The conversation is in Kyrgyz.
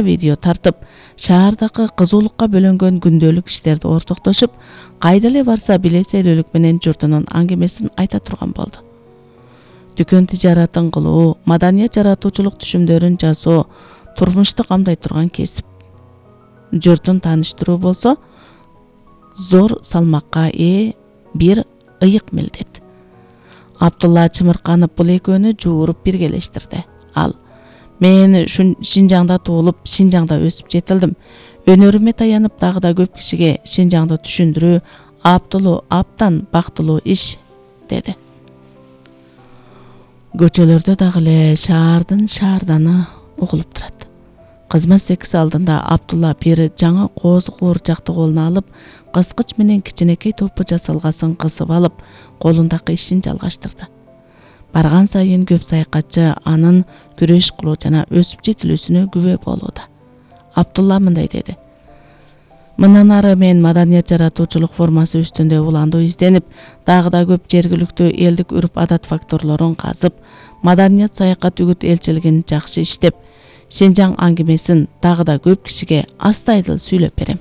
видео тартып, шаардагы кызуулукка бөлөнгөн күндөлүк иштерди ортоктошуп, кайда эле барса билесейлүүлүк менен журтунун аңгемесин айта турган болду. Дүкөн тижаратын кылуу, маданият жаратуучулук түшүмдөрүн жасоо турмушту камдай турган кесип. Журтун тааныштыруу болсо зор салмакка ээ бир ыйык милдет. Абдулла Чымырканов бул экөөнү жууруп биргелештирди. Ал: "Мен Шинжаңда туулуп, Шинжаңда өсүп жетилдим. Өнөрүмө таянып дагы да көп кишиге Шинжаңды түшүндүрүү абдан бактылуу иш", деди. Көчөлөрдө дагы эле шаардын шаарданы угулуп турат. Кызмат секси алдында Абдулла бир жаңы кооз куурчакты колуна алып, кыскыч менен кичинекей топу жасалгасын кысып алып, колундагы ишин жалгаштырды. Барган сайын көп саякатчы анын күрөш кылуу жана өсүп жетилүүсүнө күбө болууда. Абдулла мындай деди: "Мындан ары мен маданият жаратуучулук формасы үстүндө уландуу изденип, дагы да көп жергиликтүү элдик үрп-адат факторлорун казып, маданият саякат үгүт элчилигин жакшы иштеп, Шинжаң аңгемесин дагы да көп кишиге астайдыл сүйлөп берем".